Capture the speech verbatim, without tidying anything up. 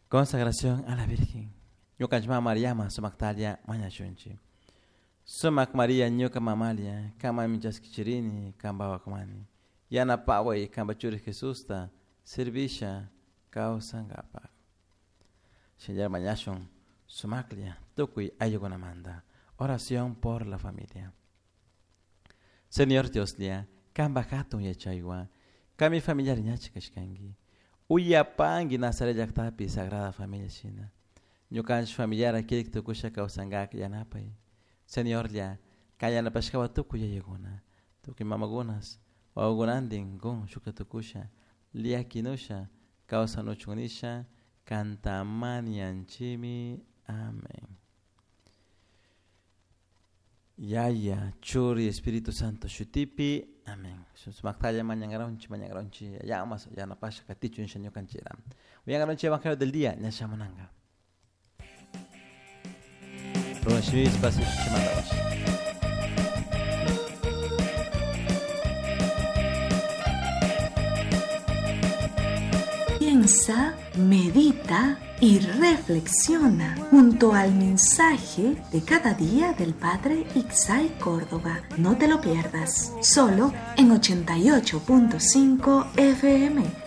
Consagración a la Virgen. Ñukanchik mama Mariama sumaktalia mañashunchik. Sumak Maria ñuka mamalia, kamami chaskichirini, kampa wawakamani. Yanapaway kampa churi Jesusta, servisha kawsankapak. Señor mañashun, sumaklia, tukuy ayllukunamanta. Oración por la familia. Señor Dioslla, kampa hatun yachaywan, kami familiar ñachi kashkanki. Uyapanki Nazaret llaqtapi Sagrada Familia shina. Ñukanchik familiar kirik tukusha kawsankak yanapay. Señorlla, kay yanapashkawa tukuy yayakuna, tukuy mamakunas, wawakunantin kun shukta tukusha, liakinusha, kawsanuchun nisha, kantamanianchimi. Amén. Yaya, Churi, Espíritu Santo, Shutipi. Amén. Sumaktalla mañangaronchi, mañangaronchi, yamas, yanapasha, katichu, ñukanchira. Uyangaronchi Evangelio del día, ñashamunanga. Ruashmis, pasi, chimandawash. Piensa, medita y reflexiona junto al mensaje de cada día del Padre Ixay Córdoba. No te lo pierdas, solo en ochenta y ocho punto cinco F M.